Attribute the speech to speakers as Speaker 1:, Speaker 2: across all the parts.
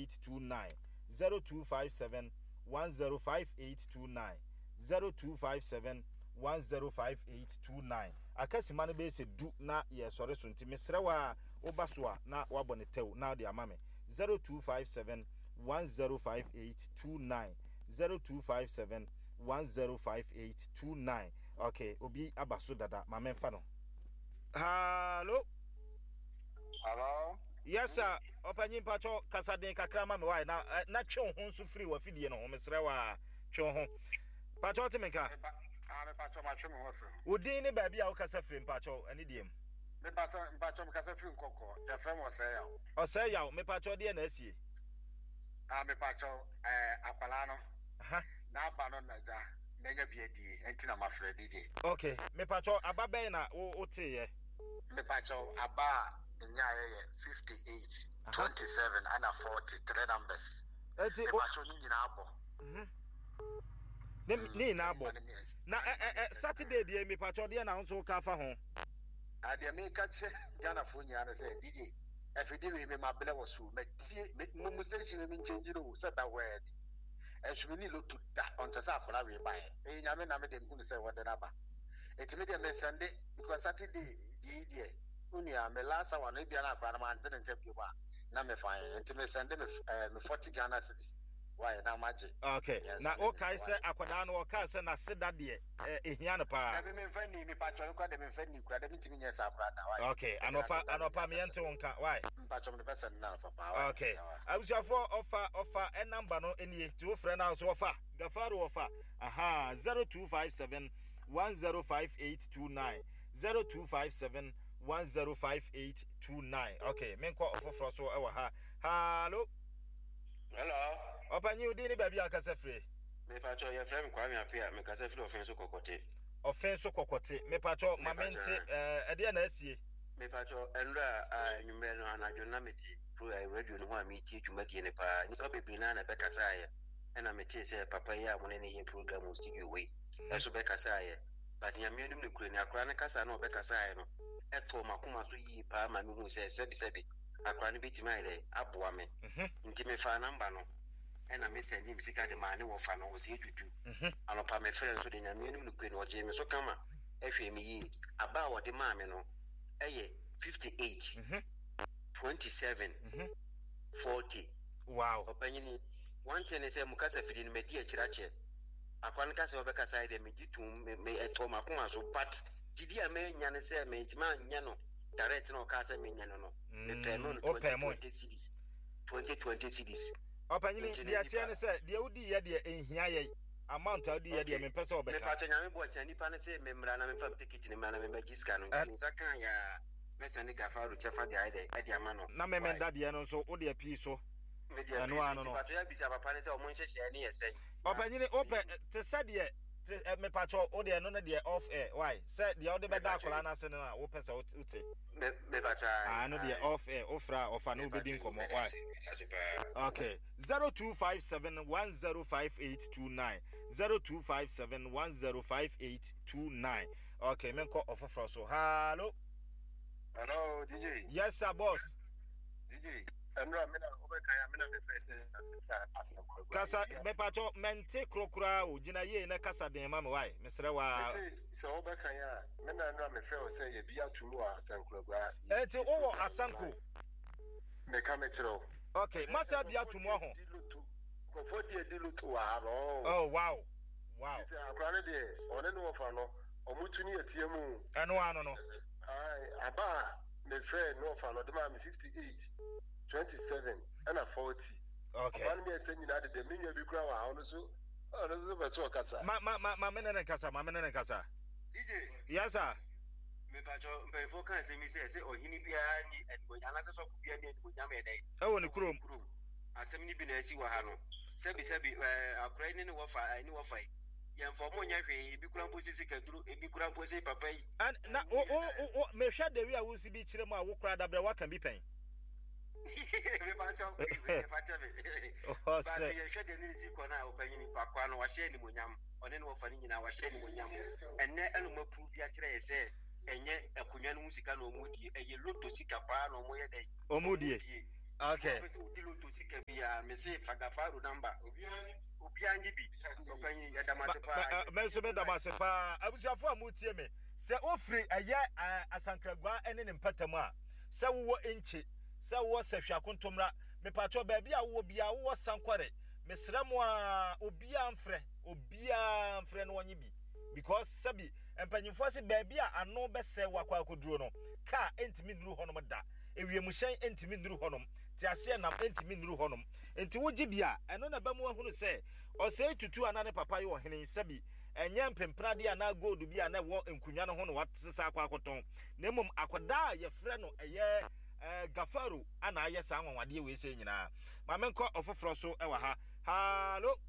Speaker 1: 0829 0257 105829 0257 105829 Aka sima no bɛyɛ sɛ du na yɛresɔre so nti mesrɛ wo a woba so a na woabɔ ne tɛw na wode ama me 0257 105829 0257 105829 Okay, obi aba so dada ma memfa no. Hallo.
Speaker 2: Hello.
Speaker 1: Yes sir. Ɔpanyin mpatsɔ kasa den kakra ma me wae na eh, na twe wo ho nso firi w'afidie no ho mesrɛ wo a twe wo ho. Mpatsɔ te me nka.
Speaker 2: Ah, mepatsɔ matwe me ho afiri ho.
Speaker 1: Wo din ne baabi a wokasa firi mpatsɔ ɛne deɛ mu.
Speaker 2: Mepasɛ mpatsɔ mekasa firi nkɔkɔ. Yɛfrɛ me Ɔsɛe Yaw.
Speaker 1: Ɔsɛe Yaw mepatsɔ deɛ na asie.
Speaker 2: Ah, mepatsɔ ɛɛ eh, akwadaa no. N'aba no na gya manya bi adie nti na mafrɛ DJ.
Speaker 1: Ok mepakyɛw aba bɛn na wo woteeɛ?
Speaker 2: Mepakyɛw aba a menyaeɛ yɛ 58, 27 ɛna 40, 3 numbers.
Speaker 1: Eti o
Speaker 2: Mepakyɛw ne nyinaa bɔ.
Speaker 1: Mhm. Ne ne nyinaa bɔ. Na ɛ ɛ ɛ Saturday deɛ mepakyɛw deɛ na wo nso woka afa ho?
Speaker 2: Ah deɛ meka kyerɛ Ghanafoɔ nyinaa ne sɛ DJ afidie wei me mabrɛ wɔ so matie me mo station wei me nkyɛngyi no o sɛ da word. Nso menni loto da until sɛ akwadaa wei baeɛ. Ɛyɛ Nyame na me deɛ mehunu sɛ wɔde no aba. Nti me deɛ me sɛnde because Saturday deɛ yi deɛ wo nua me last hour no ebia na akwadaa no mante ne nka biom a na me fa yɛ. Nti me sɛnde me eh, me 40 Ghana cedis why na magye.
Speaker 1: Okay,
Speaker 2: Mmiɛnsa
Speaker 1: na
Speaker 2: ne
Speaker 1: wokae
Speaker 2: nyinaa
Speaker 1: sɛ
Speaker 2: why.
Speaker 1: akwadaa no ɔkaa sɛ n'aseda deɛ eh, ehia no paa.
Speaker 2: Dabi memfa nni, mepakyɛw no koraa deɛ memfa nni koraa, dabi ntumi nyɛ saa koraa da why.
Speaker 1: Okay,
Speaker 2: Mede
Speaker 1: anɔpa
Speaker 2: n'aseda no
Speaker 1: anɔpa
Speaker 2: nyinaa
Speaker 1: meɛnte
Speaker 2: bɛsɛnde.
Speaker 1: wo nka why.
Speaker 2: Mpakyɛw mede bɛsɛnde no anɔpa paa why.
Speaker 1: Okay,
Speaker 2: Mesrɛ wo.
Speaker 1: abusuafoɔ ɔfa ɔfa ɛ number no nie nti wofrɛ no a so ɔfa Gafaru ɔfa aha 0257 105829 0257 105829 okay menkɔ ɔfoforɔ so ɛwɔ ha hallo.
Speaker 3: Hello.
Speaker 1: Ɔpanyin wo din ne baabi a wokasa firi?
Speaker 3: Mepakyɛw yɛfrɛ me Kwame Appiah mekasa firi Ɔfɛn so Kɔkɔte.
Speaker 1: Ɔfɛn so Kɔkɔte mepakyɛw ma mente
Speaker 3: Mepakyɛw
Speaker 1: ɛɛ ɛdeɛ na asie?
Speaker 3: Mepakyɛw ɛnora a anwummerɛ no anadwo no na mete pro ɛɛ radio no ho a meretie dwumadie no paa nnipa bebree naa na ɛbɛkasaeɛ ɛna metee sɛ papa yi a mo ne no yɛ program wɔ studio hɔ yi ɛso bɛkasaeɛ but Nyame anim nokorɛ ni akora no kasa na ɔbɛkasaeɛ no ɛtɔɔ makoma so yie paa ma mehuu sɛ sɛbi sɛbi akora no bɛtumi ayɛ dɛn aboa me nti mefaa number no ɛna me sɛndee me sika de maa ne wɔfa no ɔsɛ tutu anɔpa me frɛ nso de Nyame anim nokorɛ ni ɔgyee me so kama ɛhwɛɛ me yie aba a ɔde maa me no ɛyɛ 58 27 40
Speaker 1: Wow.
Speaker 3: Ɔpanyini, one thing ne sɛ mo kasa fidi no madi akyire akyɛ. Akora no ka sɛ ɔbɛkasa yi deɛ megye tom, me, me, ɛtɔ m'akoma so, but gyidi a manya ne sɛ mentumi anyɛ no direct na ɔkaa sɛ menyɛ no no, mepɛɛ mo no
Speaker 1: Wopɛɛ mo.
Speaker 3: 20 20 cedis, 20 20 cedis.
Speaker 1: Ɔpanyini,
Speaker 3: Nti no
Speaker 1: deɛ ɛteɛ
Speaker 3: nipa
Speaker 1: ne sɛ, deɛ wodiiɛ deɛ ɛnhia yɛn. Amount a wodiiɛ deɛ
Speaker 3: Okay,
Speaker 1: mempɛ sɛ wobɛka.
Speaker 3: mepatwɔ Nyame boa kyena nipa no se memmra na memfa me ticket no mmra na memmɛgye sika no, nti me nsa kaa yɛ a mɛsɛnde Gafaru kyɛfa de ayɛ dɛn ɛde ama no,
Speaker 1: Na
Speaker 3: why?
Speaker 1: memenda deɛ no nso, wo deɛ pii so.
Speaker 3: Me deɛ
Speaker 1: Ɛno
Speaker 3: pii so,
Speaker 1: ara no
Speaker 3: nti
Speaker 1: no.
Speaker 3: patwɔ yɛabisa papa no sɛ ɔmo nhyehyɛɛ no yɛ sɛn na
Speaker 1: Ɔpanyini, wopɛ,
Speaker 3: mehu.
Speaker 1: te sɛ deɛ, te, ɛ, mepatwɔ, wo deɛ ɛno no deɛ off air, why? Sɛ deɛ wode bɛda
Speaker 3: Mepatwɔ
Speaker 1: akwadaa no ase no na wopɛ sɛ wote.
Speaker 3: Me, mepatwɔ ae,
Speaker 1: Ah, ɛno deɛ
Speaker 3: ae.
Speaker 1: off air, wofrɛ a ɔfa na wobɛdi
Speaker 3: Mepatwɔ yi,
Speaker 1: nkɔmmɔ,
Speaker 3: meda
Speaker 1: why?
Speaker 3: ase, meda ase paa.
Speaker 1: Okay, 0257 105829, 0257 105829. Okay, menkɔ ɔfoforɔ so. Hallo.
Speaker 2: Hello, DJ.
Speaker 1: Yes, sir, boss.
Speaker 2: DJ, ɛnura mi na wobɛka ya mi na mefrɛ sɛ asɛnkɔ
Speaker 1: Kasa, mepatɔ, mente koro koraa o, gyina yie na kasa den ma me wae, mesrɛ waa.
Speaker 2: Mese sɛ wobɛka ya a, me na ɛnura mefrɛ wo sɛ yɛbi ato mu wɔ Asankragua.
Speaker 1: Enti wowɔ Asanko?
Speaker 2: Meka mekyerɛ wo.
Speaker 1: Okay, masa bi ato mu ɔho.
Speaker 2: Nkurɔfoɔ di adi loto wɔ ha no.
Speaker 1: Oh, wow. Wow.
Speaker 2: Sɛ akora no deɛ, ɔne ne wɔfa no, ɔmo tu ne yɛteɛ mu.
Speaker 1: Ɛno ano no.
Speaker 2: Ae, aba a mefrɛɛ ne wɔfa no, ɔde maa me 58, 27, ɛna 40.
Speaker 1: Okay.
Speaker 2: Ɔba no mmiɛnsa nyinaa deda. Me nua bi koraa wɔ ha, ɔno nso, ɔno nso pɛ sɛ ɔkasa.
Speaker 1: Ma, ma, ma, ma me ne ne nkasa, ma me ne ne nkasa.
Speaker 3: DJ.
Speaker 1: Yes, sir.
Speaker 3: Mepakyɛw, mpanyimfoɔ ka asɛm yi sɛ, sɛ ɔhene biara nni animuonyam anaasɛ sɔfo biara nni animuonyam yɛ dɛn?
Speaker 1: Ɛwɔ ne kurom.
Speaker 3: Kurom. Asɛm no bi na asi wɔ ha no. Sɛbisɛbi, ɛɛ, akora yi ne ne wɔfa, ɛɛ, ne wɔfa yi, yɛmfa wɔn nyɛ hwee, ebi koraa mpo se sikaduro, ebi koraa mpo se papa yi.
Speaker 1: Ɛn, na wo, wo, wo, wo, mehwɛ dewi a wosi bi kyerɛ mu a, wo koraa dabrɛ woaka bi pɛn.
Speaker 3: Mepakyɛw, mepakyɛ me. But yɛhwɛ deɛ ne ne si kɔ no a, ɔpanyin, akoa no, wahyɛ animuonyam. Ɔne ne wɔfa no nyinaa wahyɛ animuonyam. Ɛnnɛ ɛna wɔn apuruvi akyerɛ yɛ sɛ ɛnyɛ akonnwa no ho sika na wɔn die, ɛyɛ loto sika paa na wɔn yɛ dɛn?
Speaker 1: Wɔn die. Okay.
Speaker 3: Wo a wopɛ sɛ wodi lotto sika biara, mese fa Gafaro number. Obiara nye bi. Ɔpanyin, yɛda mo ase paa.
Speaker 1: Me nso meda mo ase paa. Abusuafo a motie me, sɛ wofiri ɛyɛ Asankragua ne ne mpɔtam a, sɛ wowɔ Nkye, sɛ wowɔ Sahwi Akontommra, mepakyɛw baabi a wowɔ biara, wowɔ Sankɔre, mesrɛ mo ara, obiara mfrɛ, obiara mfrɛ na ɔnye bi. Because sɛbi mpanyimfoɔ se baabi a ano bɛsɛe wo akɔ akɔduro no, kaa ntumi nnuru hɔnom da. Ewiemhyɛn ntumi nnuru hɔnom, teaseɛnam ntumi nnuru hɔnom. Enti wogye bi a, ɛno na ɛbɛma woahunu sɛ Ɔsɛe Tutu a na ne papa yɛ ɔhene yi, sɛbi ɛnyɛ mpempenadeɛ anaa gold bi a na ɛwɔ nkonnwa no ho na wasesa akɔ akɔtɔn, na mmom akwadaa a yɛfrɛ no ɛyɛ Gafaro a na ayɛ saa anwanwadeɛ wei sei nyinaa. Ma menkɔ ɔfoforɔ so wɔ ha. Hallo!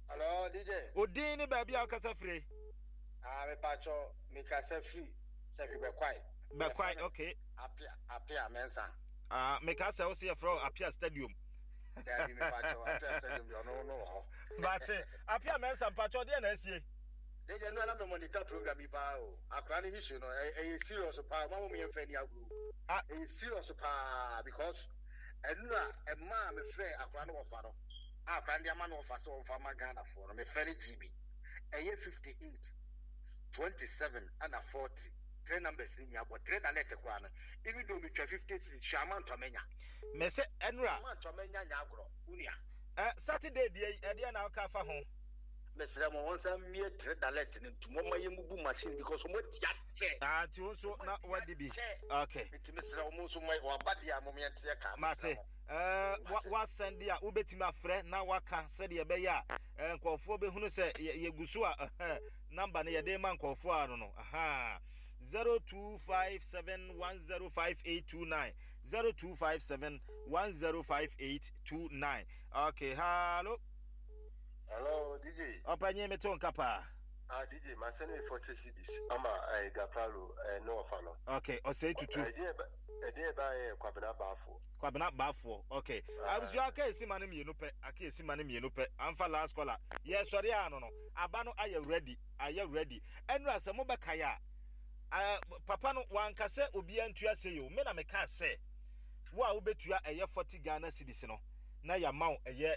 Speaker 2: Hello, DJ.
Speaker 1: Wo din ne baabi a wokasa firi?
Speaker 2: Ah, mepatwɔ, mekasa firi Sahwi Bɛkwae.
Speaker 1: Bɛkwae, okay.
Speaker 2: Apia, Apia Mensah.
Speaker 1: Ah, meka sɛ wo se yɛfrɛ wo Apia Stadium.
Speaker 2: Dabi, mepatwɔ, Apia Stadium deɛ ɔno no wɔ hɔ.
Speaker 1: Mate, Apia Mensah, mpatwɔ deɛ na asie?
Speaker 2: Deɛ no na me monitor program yi paa o. Akora ne history no, ɛyɛ serious paa, ma mo yɛmfa ani agorɔ.
Speaker 1: Ah.
Speaker 2: Ɛyɛ serious paa because ɛno a ɛmaa mefrɛ akora no wɔfa no. A akora no de ama no wɔfa sɛ wɔmfa ma Ghanafoɔ no, mefrɛ no GB. Ɛyɛ 58, 27 ɛna 40. Three numbers ni nyinaa bɔ three na net koraa no even though metwa 50 cedis hwɛ amount a manya.
Speaker 1: Mese ɛnora.
Speaker 2: Amount a manya nyɛ agorɔ wo nua.
Speaker 1: Saturday deɛ yi ɛdeɛ na woka fa ho.
Speaker 2: Mesrɛ mo wɔn san mmie three dallet no ntum wɔn ma yɛ mubu machine because wɔn adi akyɛ.
Speaker 1: Ah nti wo nso na wadi bi. Okay.
Speaker 2: Nti mesrɛ wɔn nso mo wɔaba deɛ a mo yɛn teɛ kaa mesrɛ
Speaker 1: Mate.
Speaker 2: mo.
Speaker 1: Ɛɛ wa wasɛn deɛ a wobɛtumi afrɛ na waka sɛdeɛ ɛbɛyɛ a nkurɔfoɔ bɛhunu sɛ yɛgu so a number no yɛde ma nkurɔfoɔ a no no ahaa 0257105829 0257105829 okay hallo.
Speaker 4: Hello DJ.
Speaker 1: Ɔpanyin mi to nka paa.
Speaker 4: Ah DJ ma send me 40 cedis ama eh, Gafaro eh, ne ɔfa no.
Speaker 1: Okay ɔsɛe tutu.
Speaker 4: Ɛdeɛ ɛdeɛ ɛbaa yɛ Kwabena Baafoɔ.
Speaker 1: Kwabena Baafoɔ okay. Ah. Abusua aka esi ma no mmienu pɛ aka esi ma no mmienu pɛ amfa last caller yɛ sɔre a no no aba no ayɛ ready ayɛ ready ɛnura sɛ mo bɛkae a uh, papa no wanka sɛ obiara ntua sei o me na mekaa sɛ wo a wobɛtua ɛyɛ 40 Ghana cedis no na yɛama wo ɛyɛ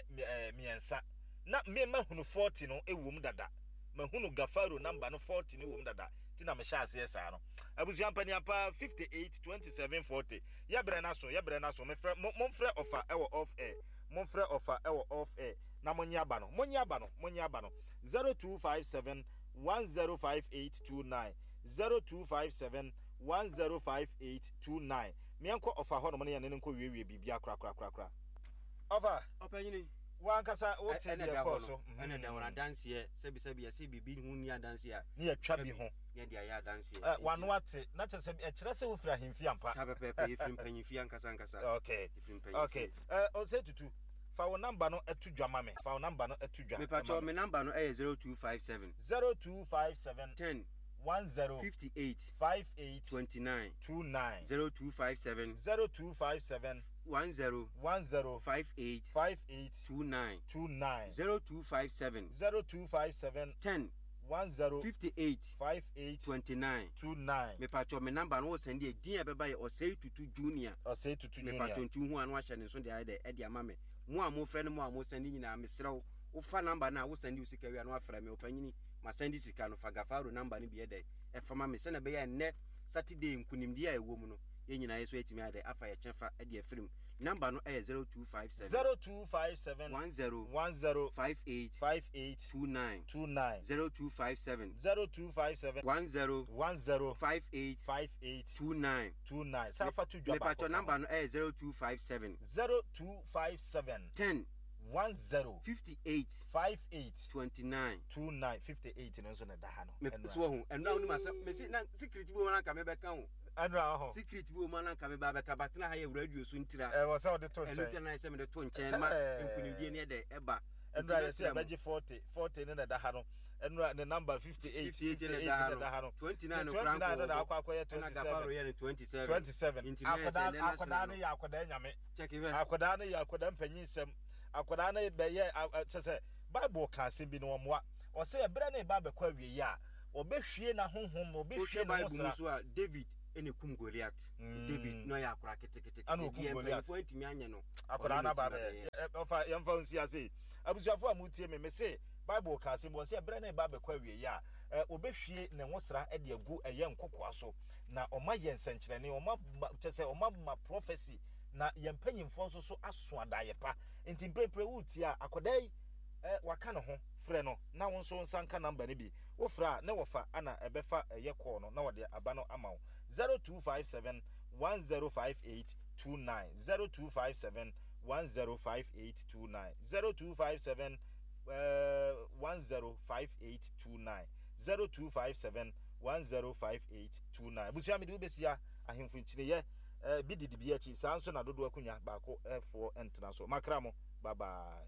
Speaker 1: mmiɛnsa na me mahunu 40 no ɛwom dada mahunu Gafaro number no 40 no wom dada ti na mehyɛ aseɛ saa no abusua mpaniampa 58 27 40 yɛbrɛ no aso yɛbrɛ no aso mefrɛ momfrɛ ɔfa ɛwɔ off air momfrɛ ɔfa ɛwɔ off air na monye aba no monye aba no monye aba no 0257 105829 0257 105829 Meɛnkɔ ɔfa hɔnom na yɛne no nkɔ wiewie biribia korakorakorakora. Ɔfa,
Speaker 3: Ɔpanyini,
Speaker 1: w'ankasa wote
Speaker 3: ɛna
Speaker 1: deɛ
Speaker 3: ɛda hɔ
Speaker 1: ɛkɔɔ
Speaker 3: no,
Speaker 1: so.
Speaker 3: ɛna ɛda hɔ no, adanseɛ, sɛbisɛbi, yɛse biribi ho nni adanseɛ a,
Speaker 1: Ne yɛtwa bi ho.
Speaker 3: ne yɛde ayɛ adanseɛ.
Speaker 1: Ɛ,
Speaker 3: Nti
Speaker 1: w'ano
Speaker 3: no,
Speaker 1: ate, na kyerɛ sɛ, ɛkyerɛ sɛ wofiri ahemfie ampa.
Speaker 3: saa pɛpɛɛpɛ, yɛfiri mpanyimfie ankasa ankasa.
Speaker 1: Okay,
Speaker 3: Yɛfiri mpanyimfie.
Speaker 1: okay. Ɛ, Osei Tutu, fa wo number no to dwa ma me. Fa wo number no to dwa ma
Speaker 3: Mepakyɛw,
Speaker 1: me.
Speaker 3: me number no ɛyɛ 0257.
Speaker 1: 0257.
Speaker 3: 10.
Speaker 1: 10.
Speaker 3: 58.
Speaker 1: 58.
Speaker 3: 29.
Speaker 1: 29.
Speaker 3: 0257.
Speaker 1: 0257.
Speaker 3: 10.
Speaker 1: 10.
Speaker 3: 58.
Speaker 1: 58.
Speaker 3: 29.
Speaker 1: 29.
Speaker 3: 0257.
Speaker 1: 0257.
Speaker 3: 10.
Speaker 1: 10.
Speaker 3: 58.
Speaker 1: 58.
Speaker 3: 29.
Speaker 1: 29.
Speaker 3: Mepakyɛw, me number no wo sɛnde a, din a ɛbɛba yɛ Osei Tutu Junior.
Speaker 1: Osei Tutu Junior.
Speaker 3: Mepakyɛw, nti wohu a na wahyɛ ne nso de ayɛ dɛ ɛde ama me. Mo a mofrɛ ne mo a mosɛnde nyinaa, mesrɛ wo, wofa number no a, wosɛnde wo sika wie a na wafrɛ me, ɔpanyini, masɛnde sika no, fa Gafaro number no bi yɛ dɛ ɛfa ma me, sɛnea ɛbɛyɛ a nnɛ Saturday nkunimdie a ɛwɔ mu no, yɛn nyinaa yɛ so atumi ayɛ dɛ afa yɛ kyɛfa de afiri mu. Number no yɛ 0257.
Speaker 1: 0257.
Speaker 3: 10.
Speaker 1: 10.
Speaker 3: 58.
Speaker 1: 58.
Speaker 3: 29.
Speaker 1: 29.
Speaker 3: 0257.
Speaker 1: 0257.
Speaker 3: 10.
Speaker 1: 10.
Speaker 3: 58.
Speaker 1: 58.
Speaker 3: 29.
Speaker 1: 29. San fa to dwa baako
Speaker 3: Mepatwɔ
Speaker 1: ka ho.
Speaker 3: number no yɛ 0257.
Speaker 1: 0257.
Speaker 3: 10.
Speaker 1: 10.
Speaker 3: 58.
Speaker 1: 58.
Speaker 3: 29.
Speaker 1: 29. 58 no nso na ɛda ha no.
Speaker 3: Me
Speaker 1: Ɛno
Speaker 3: so
Speaker 1: a.
Speaker 3: wahu ɛno a wonim asɛm mese na secret bi wɔ mu a na anka mebɛka o.
Speaker 1: Ɛno a ɔho.
Speaker 3: Secret bi wɔ mu a na anka meba abɛka but na ha yɛ radio so ntira.
Speaker 1: Ɛwɔ sɛ wode to
Speaker 3: Ɛno
Speaker 1: nkyɛn.
Speaker 3: nti na ayɛ sɛ mede to nkyɛn ma nkunimdie no yɛ dɛ ɛba.
Speaker 1: Ɛno
Speaker 3: Nti
Speaker 1: a yɛsɛ
Speaker 3: mɛsrɛ mo.
Speaker 1: yɛbɛgye 40 40 no na ɛda ha no. Ɛno a ne number 58
Speaker 3: 58 na
Speaker 1: 58
Speaker 3: ɛda
Speaker 1: na
Speaker 3: ha
Speaker 1: ɛda ha
Speaker 3: no.
Speaker 1: no.
Speaker 3: 29
Speaker 1: Nti
Speaker 3: no koraa
Speaker 1: 29 no
Speaker 3: nkɔ
Speaker 1: na
Speaker 3: hɔ.
Speaker 1: akɔ akɔyɛ
Speaker 3: Ɛna Gafaro
Speaker 1: 27.
Speaker 3: yɛ no 27.
Speaker 1: 27.
Speaker 3: Nti na yɛ sɛ
Speaker 1: Akwadaa
Speaker 3: nnɛ
Speaker 1: akwadaa
Speaker 3: national
Speaker 1: no
Speaker 3: no.
Speaker 1: yɛ akwadaa nyame.
Speaker 3: Check hwɛ.
Speaker 1: Akwadaa no yɛ akwadaa mpanyinsɛm. Akwadaa no bɛyɛ kyɛ sɛ Bible ka asɛm bi na ɔmmoa. Ɔsɛ ɛberɛ no reba abɛkɔ awieeɛ a, ɔbɛhwie n'ahonhom, ɔbɛhwie
Speaker 3: Wohwɛ
Speaker 1: ne ho
Speaker 3: Bible mu
Speaker 1: sra.
Speaker 3: nso a, David.
Speaker 5: ɛna ekum Goliath. David na ɔyɛ akora ketekete.
Speaker 1: Ɛna okum
Speaker 5: Deɛ
Speaker 1: Goliath.
Speaker 5: mpanyinfoɔ antumi anyɛ no.
Speaker 1: Akwadaa
Speaker 5: ɔno
Speaker 1: no
Speaker 5: na
Speaker 1: aba
Speaker 5: otumi
Speaker 1: abɛyɛ.
Speaker 5: abɛyɛ.
Speaker 1: Ɔfa yɛmfa nsi ase yi. Abusuafoɔ a motie me, mese Bible ka asɛm bi, ɔse ɛberɛ no reba abɛkɔ awieeɛ a, ɛ, wɔbɛhwie ne nwosra de agu ɛyɛ nkokoa so, na ɔma yɛ nsɛnkyerɛnne, ɔma ma, kyɛ sɛ ɔma ma prophecy, na yɛn mpanyinfoɔ nso so aso adaeɛ pa. Nti mprempren woretie a, akwadaa yi, ɛ, waka ne ho, frɛ no na wo nso wo nsa nka number no bi. Wofrɛ a, ne wɔfa ana ɛbɛfa ɛyɛ call no na wɔde aba no ama wo. 0257 1058 29 0257 105829 0257 105829 0257 105829. Abusua, mede wobɛsia ahemfo nkyiniyɛ eh, bi didi bi akyi saa nso na dodoɔ akonnwa baako eh, foɔ ntena so. Makra mo, bye bye.